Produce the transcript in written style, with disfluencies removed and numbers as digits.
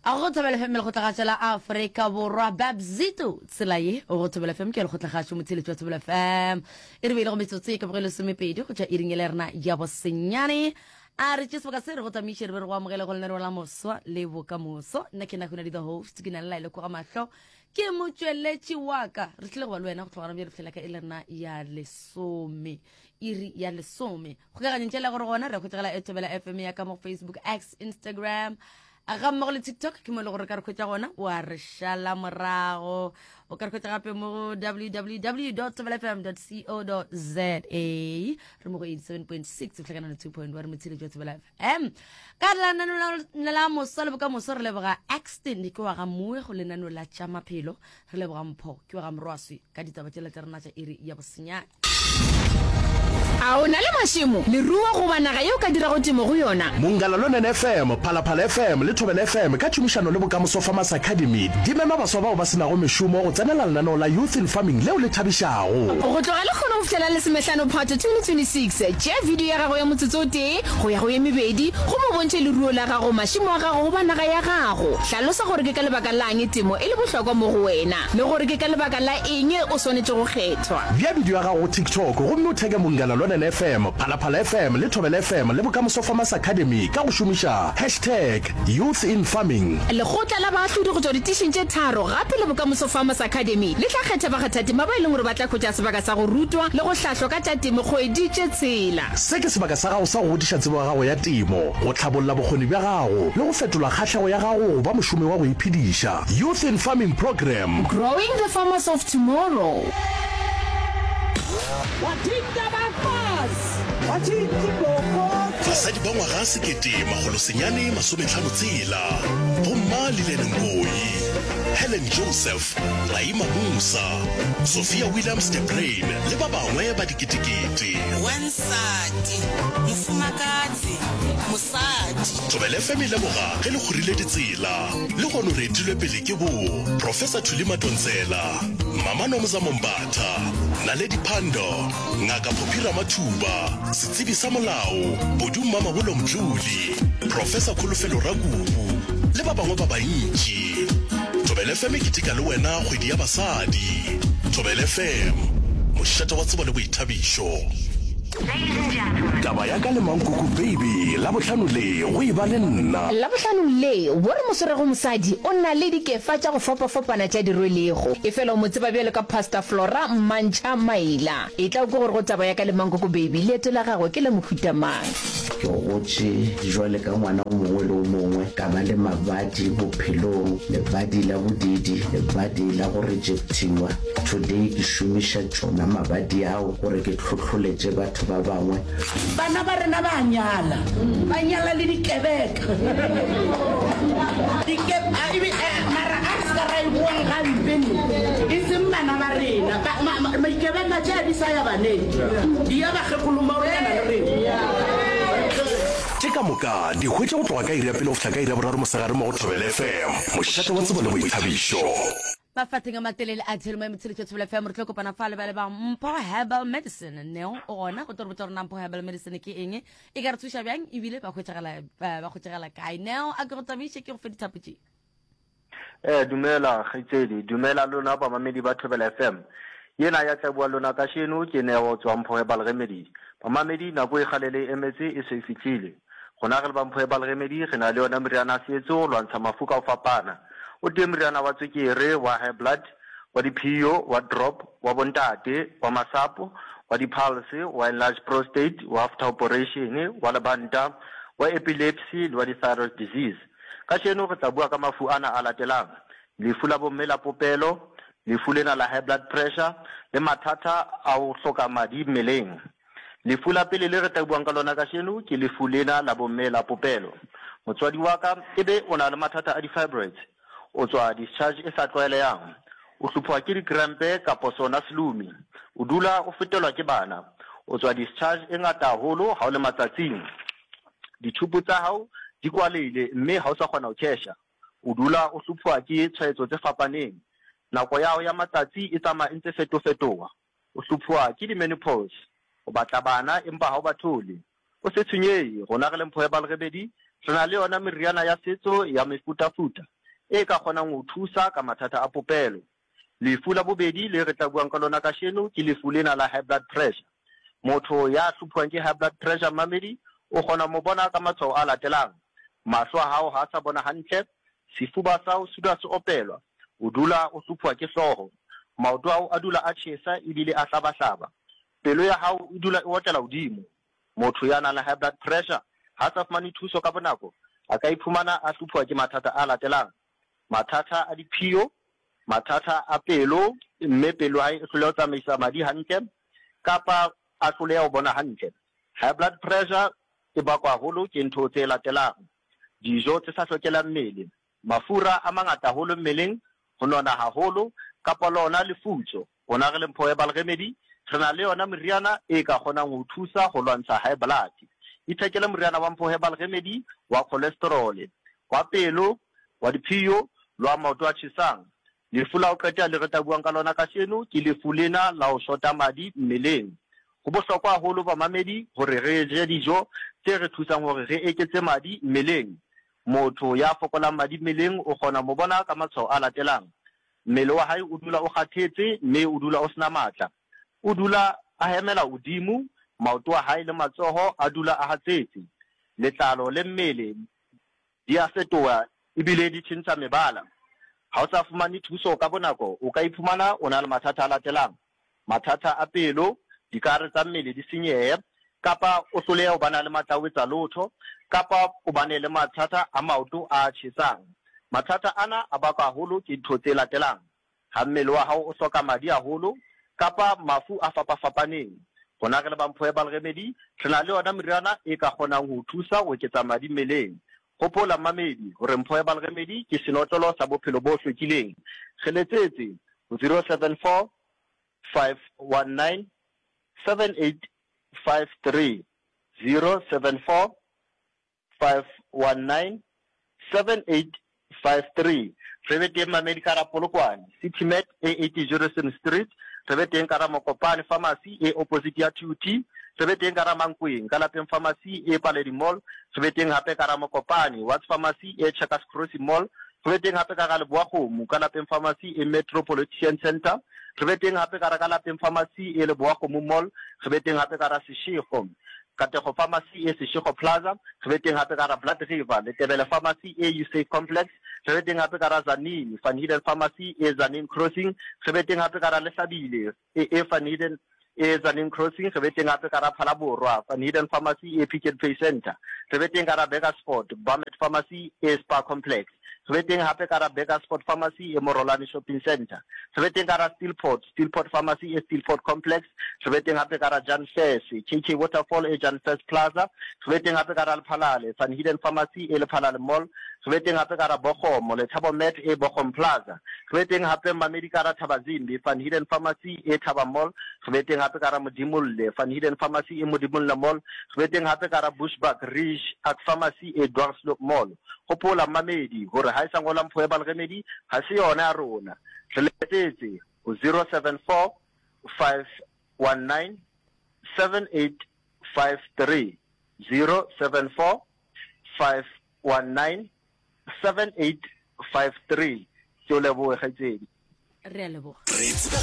A go Thobela FM lekgotlagašo la Afrika Borwa Babzito tsela ye go Thobela FM ke lekgotlagašo motheletši wa Thobela FM e re beile go metsotso e ka boge lesomepedi go tšwa iring e le rena ya bosenyane a re tše sebaka se re go tamiše re be re go amogele go lenaneo la moswa le bokamoso nna ke nahuna the host ke na le laele koga mahlo ke motšweletši wa ka re tlile go ba le wena go tlogana bjale fihlela ka e le rena ya lesome iri ya lesome kgokaganyong tšela gore gona re hwetšagala e Thobela FM ya ka mo Facebook X Instagram ga mmogo le tiktok ke mo e le gore ka re hwetša gona wa re šala morago o ka re hwetša gape mo go www thobelafm co za re mo go 87.6 tlhakana le 2.1 re motshiletši wa thobela fm ka lenaneo la moso le bokamoso re leboga axton ke wa ga moe go lenaneo la tša maphelo re leboga mpho ke wa ga morwaswi ka ditaba tšela tša rena tša iri ya bosenyane. A o na le mašemo, leruo goba naga ye o ka dirago temo go yona? Mongala Lonene FM, Phalaphala FM le Thobela FM ka tšhomišano le Bokamoso Farmers Academy di mema baswa bao ba se nago mešomo go tsenela lenaneo la Youth in Farming leo le thabišago. Go tloga lekgono go fihlela lesomehlano Phato 2026, tšea video ya gago ya motsotso o tee go ya go ye mebedi gomme o bontšhe leruo la gago, mašemo a gago goba naga ya gago. Hlalosa gore ke ka lebaka la'ng temo e le bohlokwa mo go wena le gore ke ka lebaka la eng o swanetše go kgethwa. Bea bidio ya gago go TikTok gomme o theke Munghana Lonene FM, Phalaphala FM le Thobela FM le Bokamoso Farmers Academy ka go šomiša hashtag YouthInFarming. Lekgotla la baahlodi go tšwa ditišing tše tharo gape le Bokamoso Farmers Academy le tla kgetha bakgathatema ba e leng gore ba tla hwetša sebaka sa go rutwa le go hlahlwa ka tša temo kgwedi tše tshela. Se ke sebaka sa gago sa go godiša tsebo ya gago ya temo, go hlabolla bokgoni bja gago le go fetola kgahlego ya gago go ba mošomi wa go iphediša. Youth in Farming Programme. Growing the farmers of tomorrow. Basadi ba ngwaga 1956, Bomma Lillian Ngoyi, Helen Joseph, Raima Moosa, Sophia Williams de Bruyn le ba bangwe ba diketekete. Wansati, mofumakadzi, mosadi. Thobela FM e leboga ge le kgorile ditsela. Lehono re etilwe pele ke bo Professor Thuli Madonsela, Mama Nomzamo Mbatha, Naledi Pandor, Ngaka Phophi Ramathuba, setsebi sa molao Bodu Mmamabolo Mdluli, Professor Kholofelo Rakubu le ba bangwe ba bantši. Thobela FM e keteka le wena kgwedi ya basadi. Thobela FM, mošate wa tsebo le boithabišo. Taba ya ka le Mankuku Baby, Labohlano le, go e ba le nna. Labohlanong le, wo re mo swerego mosadi o na le dikefa tša go fapafapana tša di rwelego. Efela o mo tseba bjalo ka Pastor Flora Mmantšha Maila. Etla o kwe gore go taba ya ka le Mankoko Baby leeto la gagwe ke la mohuta mang. Ke gotše jwale ka ngwana o mongwe le o mongwe, ka ba le mabadi bophelong, lebadi la bodiidi, lebadi la go rejectiwa. Today ke šomiša tšona mabadi ao gore ke hlohloletše batho ba bangwe. Bana ba rena ba a nyala, ba nyala le dikebeka. Dike, a, ebe, a, mara a re se ka ra e boang gampe ne, e seng bana ba rena. Ba, ma, ma, maikebenga tše a di sa ya baneng, di ya bakgekolomaonyana le rena. Tše ka moka di hwetše go tloga ka iri ya pele go fihla ka iri ya boraro mosegare mo go Thobela FM, mošate wa tsebo le boithabišo. Mafatheng a matelele a Thelmo ya Motshelo tša Thobela FM re tlo kopana fa le ba le ba Mpho Herbal Medicine. Neo o gona go tlo re botša gore na Mpho Herbal Medicine ke eng, e ka re thuša bjang ebile ba hwetšagala eh, ba hwetšagala kae. Neo a ke go tamiše ke go fe dithapo tše. Eh, dumela kgaitsedi, dumela lona bamamedi ba Thobela FM. Yena ya tla bua lona kasheno ke Neo tswa Mpho Herbal Remedy. Bamamedi nako e kgale le emetse e se e fihlile. Gona re le ba Mpho Herbal Remedy re na le yona meriana ya setso go lwantsha mafu ka go fapana. O tee moriana wa tswekere, wa high blood, wa diphio, wa drop, wa bontate, wa masapo, wa di-pulse, wa enlarged prostate, wa after operation, wa lebanta, wa epilepsy le wa di-thyroid disease. Kajeno re tla bua ka mafu ana a latelang, lefu la bomme la popelo, lefu lena la high blood pressure le mathata a ho hloka madi mmeleng. Lefu la pele le re tla buang ka lona kajeno ke lefu lena la bomme la popelo. Motswadi wa ka ebe o na le mathata a di-fibroids, o tswa discharge e sa tlwaelehang, o hlophuwa ke dikrempe kapo sona selumi, o dula o fetelwa ke bana, o tswa discharge e ngata haholo ha o le matsatsing, dithupu tsa hao di kwalehile mme ha o sa kgona ho khesha, o dula o hlophuwa ke tshwaetso tse fapaneng, nako ya hao ya matsatsi e tsamaya e ntse fetofetoha. O hlophuwa ke di-menopause, o batla bana empa ha o ba thole. O se tshwenyehe, rona re le Mpho Herbal Remedy re na le yona meriana ya setso ya mefutafuta. e ka kgonang ho thusa ka mathata a popelo. Lefu la bobedi le re tla buang ka lona kasheno ke lefu lena la high blood pressure. Motho ya hlophuwang ke high blood pressure mmamedi o kgona ho mo bona ka matshwao a latelang, mahlo a hao ha a sa bona hantle, sefuba sa hao se dula se opelwa, o dula o hlophuwa ke hlooho, maoto a hao a dula a tjhesa ebile a hlabahlaba, pelo ya hao e dula e otlela hodimo. Motho ya nang le high blood pressure ha a sa fumane thuso ka bonako a ka iphumana a hlophuwa ke mathata a latelang, mathata a diphio, mathata a pelo mme pelo ya hae e hloleha ho tsamaisa madi hantle kapa a hloleha ho bona hantle. High blood pressure e bakwa haholo ke ntho tse latelang, dijo tse sa hlokelang mmele, mafura a mangata haholo mmeleng, ho nona haholo kapa lona lefutso. Rona re le Mpho Herbal Remedy re na le yona meriana e ka kgonang ho o thusa ho lwantsha high blood. Ithekele moriana wa Mpho Herbal Remedy wa cholesterol, wa pelo, wa diphiyo le wa maoto a tjhesang. Lefu la ho qetela le re tla buang ka lona kasheno ke lefu lena la ho shota madi mmeleng. Ho bohlokwa haholo bamamedi hore re je dijo tse re thusang hore re eketse madi mmeleng. Motho ya fokolang madi mmeleng o kgona ho mo bona ka matshwao a latelang, Mmele wa hae o dula o kgathetse mme o dula o sena matla. O dula a hemela hodimo, maoto a hae le matsoho a dula a hatsetse. Letlalo le mmele di a fetoha ebile di tjhentjha mebala. Ha o sa fumane thuso ka bonako, o ka iphumana o na le mathata a latelang, mathata a pelo, dikahare tsa mmele di senyehe, kapa o hlolehe ho bana le matla a ho etsa lotho, kapa o bane le mathata a maoto a tjhesang. Mathata ana a bakwa haholo ke ntho tse latelang, ha mmele wa hao o hloka madi haholo, kapa mafu a fapafapaneng. Rona re le ba Mpho Herbal Remedy, re na le yona meriana e ka kgonang ho o thusa ho eketsa madi mmeleng. Hopola mmamedi hore Mpho Herbal Remedy ke senotlolo sa bophelo bo hlwekileng. Re letsetse ho 074 519 7853, 074 519 7853. Re be teng mamedi ka ra Polokwane, City Mat e 80 Jurison Street. Re be teng ka ra Mokopane Pharmacy e opposite ya TUT. Re be teng ka ra Mankweng ka lapeng Pharmacy e Paledi Mall. Re be teng hape ka ra Mokopane Watts Pharmacy e Checkers Crossing Mall. Re be teng hape ka ra Leboakgomo ka lapeng Pharmacy e Metropolitan Centre. Re be teng hape ka ra ka lapeng Pharmacy e Leboakgomo Mall. Re be teng hape ka ra Seshego Katlego Pharmacy e Seshego Plaza, re be teng hape ka hara Blood River, Letebele Pharmacy e Usave Complex, re be teng hape ka hara Tzaneen, Van Heerden Pharmacy e Tzaneen Crossing, re be teng hape ka hara Lehlabile e e Van Heerden e Tzaneen Crossing, re be teng hape ka hara Phalaborwa, Van Heerden Pharmacy e Pick n Pay Centre, re be teng ka hara Burgersfort, Bamet Pharmacy e Spar Complex. Re be teng hape ka hara Burgersfort Pharmacy e Morolane Shopping Centre. Re be teng ka hara Steelport, Steelport Pharmacy e Steelport Complex. Re be teng hape ka hara Jan Fers, KK Waterfall e Jan Fers Plaza. Re be teng hape ka hara Lephalale, Van Heerden Pharmacy e Lephalale Mall. Re be teng hape ka hara Bogomo, Lethabo Met e Bogom Plaza. Re be teng hape Mmamedi ka hara Thabazimbi, Van Heerden Pharmacy e Thaba Mall. Re be teng hape ka hara Modimolle, Van Heerden Pharmacy e Modimolle Mall. Re be teng hape ka hara Bushbuckridge, Ak Pharmacy e Dwarsloop Mall. Hopola, mmamedi, hore ha e sa ngola Mpho Herbal Remedy, ha se yona ya rona. Re letsetse ho 074 519 7853, 074 519 7853. Ke o lebohe, kgaitsedi. Re a leboga. Re tsebega.